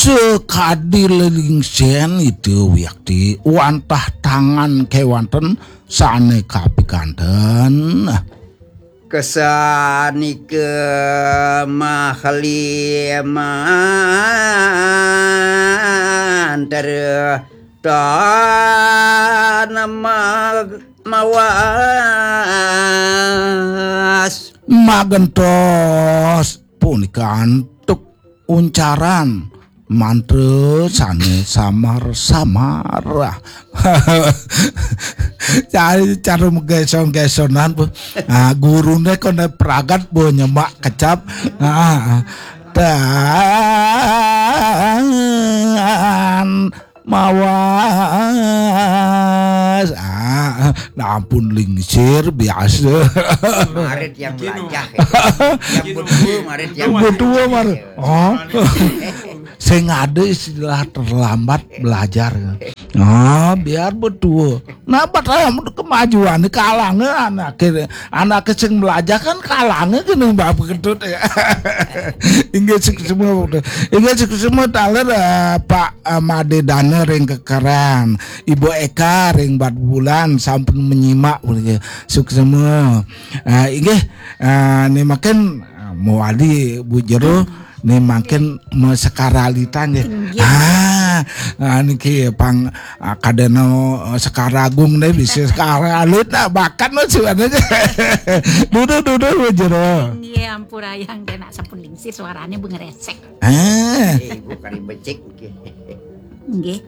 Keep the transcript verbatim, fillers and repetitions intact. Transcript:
Teu kadi lelingsén itu wiakti wantah tangan kéwanten sané kapikanten. Kesanika mahliman tertanam mawas. Magentos punika antuk uncaran mantra sané samar-samar. Cari cara menggesong-gesongan, Bu. Ah, gurune kono pragat, Bu, nyemak kecap. Ah, dan mawas. Ah, nah, ampun lingsir biasa. Marit yang melajah. Yang betul marit yang betul mar. Oh. Sing ada istilah terlambat belajar. Ah, biar betul. Nah, padahal kemajuan kalangnya anak, anak sing belajar kan kalangnya kena bab ketut ya. Inggih suksma. Inggih suksma taler, eh, Pak, eh, Made Dana ring Kekeran, Ibu Eka ring Batubulan sampun menyimak, suksma. Eh, inggih, eh, ni makin, eh, mewali Bu Jero, ni makin mesekaralitan nggih. Inggih. Ah, ah, niki pang, ah, kadena, eh, Sekaragung deh, bisa Sekaralit, nah, bakat mah sebenarnya. Duduh, duduh, Bu Jero. Nggih, ampurayang deh, nak sampun lingsir suaranya bengeresek. Ah. Eh, Ibu kari becik nggih. Nggih.